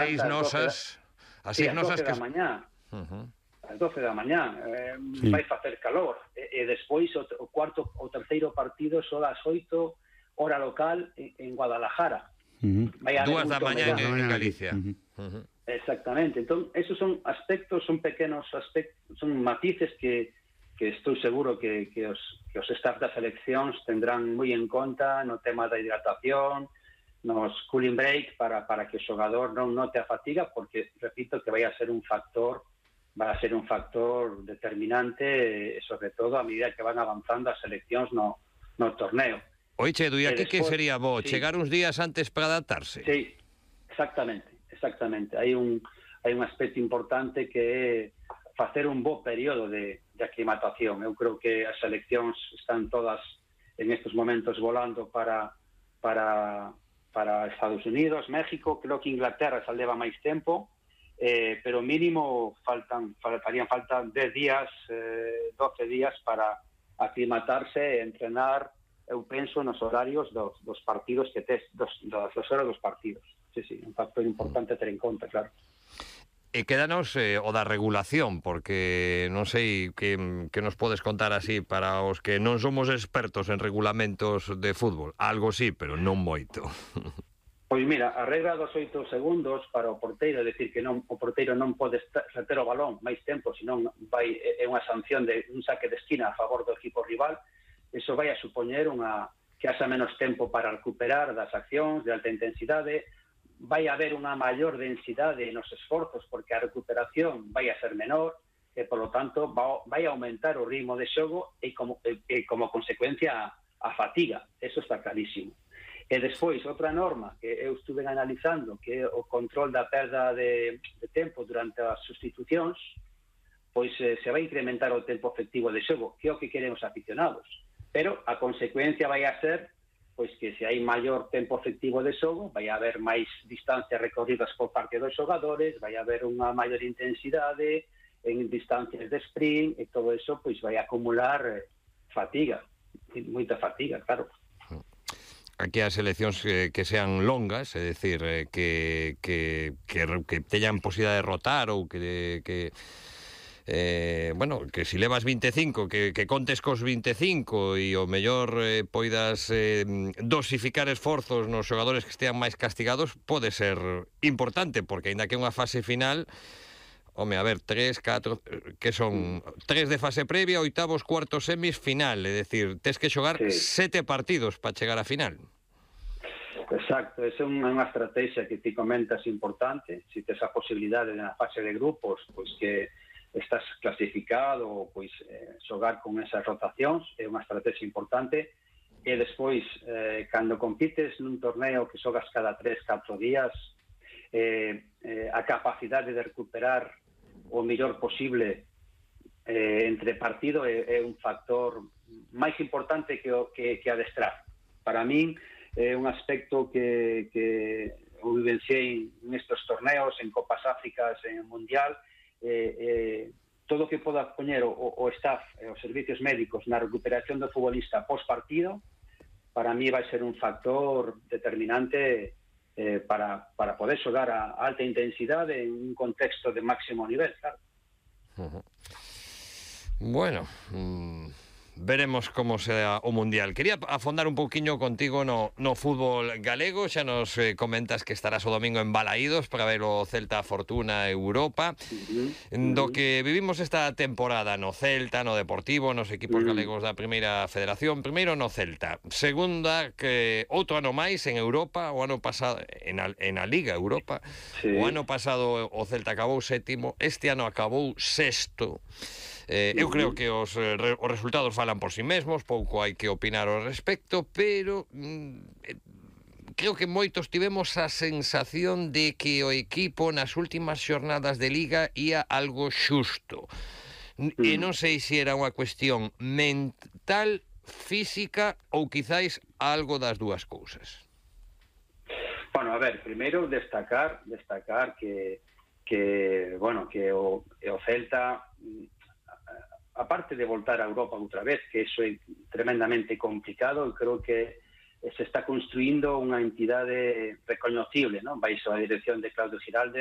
seis nosas, as seis nosas que... da mañá. Ás 12 da mañá, Sí. vai facer calor, e despois o cuarto ou terceiro partido só das 8 hora local en Guadalajara. Vai haber 2 da moito mañá menos. en Galicia. Exactamente, entón, esos son aspectos, son pequenos aspectos, son matices que estou seguro que os staff das seleccións tendrán moi en conta no tema da hidratación, nos cooling break para que o xogador non note a fatiga, porque, repito, que vai a ser un factor determinante, sobre todo a medida que van avanzando as seleccións no torneo. Oiche, Edu, e aquí que sería bo? Sí. Chegar uns días antes para adaptarse? Sí, exactamente. Hai un aspecto importante que é facer un bo período de aclimatación. Eu creo que as seleccións están todas en estes momentos volando para Estados Unidos, México. Creo que Inglaterra xa leva máis tempo, pero mínimo farían falta 10 días, 12 días para aclimatarse e entrenar, eu penso, nos horarios dos partidos que tes, das horas dos partidos. Sí, un factor importante a ter en conta, claro. E quédanos o da regulación, porque non sei que nos podes contar así para os que non somos expertos en regulamentos de fútbol. Algo sí, pero non moito. Pois mira, a regra dos 8 segundos para o porteiro, é dicir que o porteiro non pode reter o balón máis tempo, senón é unha sanción de un saque de esquina a favor do equipo rival. Eso vai a supoñer que haxa menos tempo para recuperar das accións de alta intensidade, vai haber unha maior densidade nos esforzos porque a recuperación vai a ser menor e, polo tanto, vai aumentar o ritmo de xogo e como consecuencia a fatiga. Eso está clarísimo. E despois, outra norma que eu estuve analizando, que é o control da perda de tempo durante as sustitucións, pois se vai incrementar o tempo efectivo de xogo, que é o que queren os aficionados. Pero a consecuencia vai a ser pois que se hai maior tempo efectivo de xogo, vai haber máis distancias recorridas por parte dos xogadores, vai haber unha maior intensidade en distancias de sprint, e todo eso pois vai acumular fatiga, moita fatiga, claro. Aquí as seleccións que sean longas, é dicir, que teñan posibilidade de rotar ou que si levas 25, que contes cos 25 e o mellor poidas dosificar esforzos nos xogadores que estean máis castigados, pode ser importante, porque aínda que unha fase final, home, a ver, 3, 4, que son 3 de fase previa, oitavos, cuartos, semis, final, é dicir, tes que xogar 7 partidos para chegar á final. Exacto, esa é unha estrategia que ti comentas importante. Se tes a posibilidade na fase de grupos, pois que estás clasificado, pois xogar con esas rotacións é unha estrategia importante. E despois, cando compites nun torneo que xogas cada 3-4 días, a capacidade de recuperar o mellor posible entre partido é un factor máis importante que adestrar. Para min é un aspecto que eu vivenciei nestes torneos, en Copas Áfricas, en Mundial. Todo o que poda poñer o staff, os servicios médicos na recuperación do futbolista pós-partido, para mí vai ser un factor determinante para poder xogar a alta intensidade en un contexto de máximo nivel, claro. Bueno, veremos como será o Mundial. Quería afondar un pouquiño contigo no fútbol galego. Xa nos comentas que estarás o domingo en Balaídos para ver o Celta Fortuna Europa. Do que vivimos esta temporada no Celta, no Deportivo, nos equipos galegos da Primeira Federación. Primeiro no Celta. Segunda, que outro ano máis en Europa, o ano pasado en a Liga Europa. O ano pasado o Celta acabou sétimo, este ano acabou sexto. Eu creo que os resultados falan por si mesmos, pouco hai que opinar ao respecto, pero creo que moitos tivemos a sensación de que o equipo nas últimas xornadas de Liga ia algo xusto. E non sei se era unha cuestión mental, física ou quizáis algo das dúas cousas. Bueno, a ver, primeiro destacar que o Celta, aparte de voltar a Europa outra vez, que eso é tremendamente complicado, eu creo que se está construindo unha entidade recoñecible, non? Baixo a dirección de Claudio Giralde,